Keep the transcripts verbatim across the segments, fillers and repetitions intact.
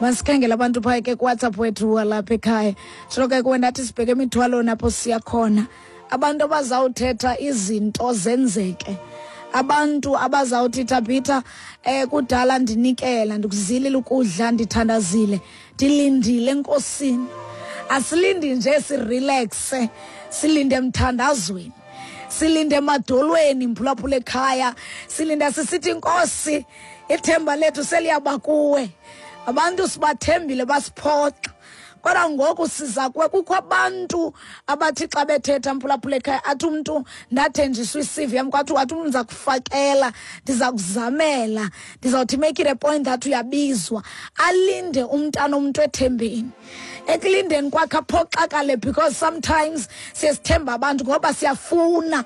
Masikhangele abantu phaya ke kuWhatsApp wethu walapha ekhaya. Sho ke kuwe ndathi sibheke emithwalo napho siya khona. Abantu abazawuthetha izinto zenzeke. Abantu abazawuthi Thabitha eh kudala ndinikela, ndikuzilile ukudla, ndithandazile, ndilindile enkosini. Asilindi nje sirelaxe, silinde emthandazweni, silinde emadolweni mphulaphula ekhaya, silinda sisithi inkosi ithemba lethu seliyaba kuwe. Abantu sibathembile basiphoxa, kodwa ngoku siza kuwe. Kukho abantu abathi xa bethetha mphulaphula ekhaya athi umntu ndathenjiswa i-C V yam, kwathi wathi umntu ndiza kufakela, ndiza kuzamela, ndizawuthi make it a point that uyabizwa. Alinde umntana omntu ethembeni. Ekulindeni kwakhe aphoxakale, because sometimes siye sithemba abantu ngoba siyafuna,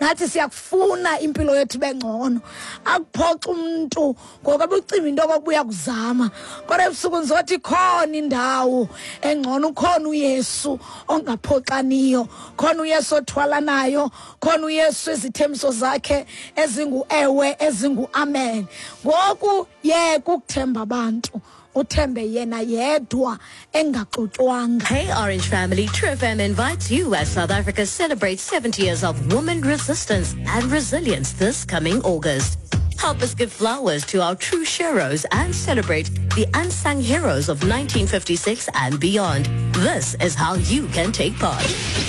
nathi siyakufuna impilo yethu ibe ngcono. Akuphoxa umntu ngoba ucima into okokuba uyakuzama, kodwa ebusuku ndizothi khona indawo engcono, ukhona uYesu ongaphoxaniyo, khona uYesu othwalanayo, khona uYesu izithembiso zakhe ezingu-ewe ezingu-amen. Ngoku yeka ukuthemba abantu, uthembe yena yedwa engaxutywanga. Hey Orange family, True F M invites you as South Africa celebrates seventy years of women resistance and resilience this coming August. Help us give flowers to our true heroes and celebrate the unsung heroes of nineteen fifty-six and beyond. This is how you can take part.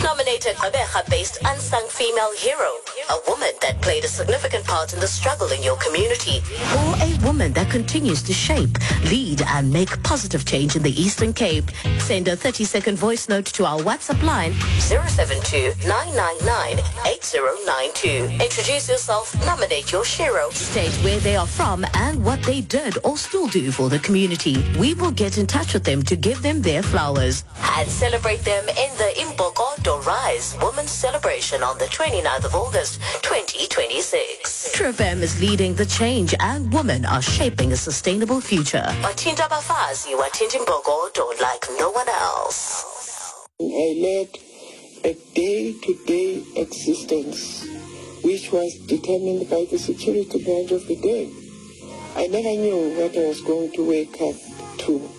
Nominate a Gqeberha-based unsung female hero, a woman that played a significant part in the struggle in your community, or a woman that continues to shape, lead, and make positive change in the Eastern Cape. Send a thirty-second voice note to our WhatsApp line zero seven two, nine nine nine, eight zero nine two. Introduce yourself, nominate your hero, state where they are from and what they did or still do for the community. We will get in touch with them to give them their flowers and celebrate them in the Imbokodo Rise Women's Celebration on the twenty-ninth of August, twenty twenty-six. True F M is leading the change and women are shaping a sustainable future. Wathinta abafazi, wathinta imbokodo like no one else. I led a day-to-day existence which was determined by the security branch of the day. I never knew what I was going to wake up to.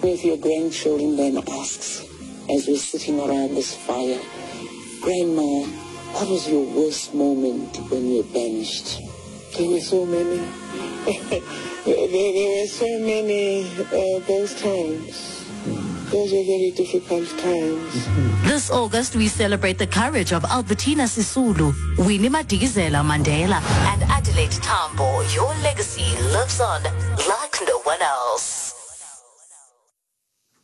If your grandchildren then asks, as we're sitting around this fire, Grandma, what was your worst moment when you were banished? There were so many. there, there were so many uh, those times. Those were very difficult times. This August, we celebrate the courage of Albertina Sisulu, Winnie Madikizela Mandela, and Adelaide Tambo. Your legacy lives on like no one else.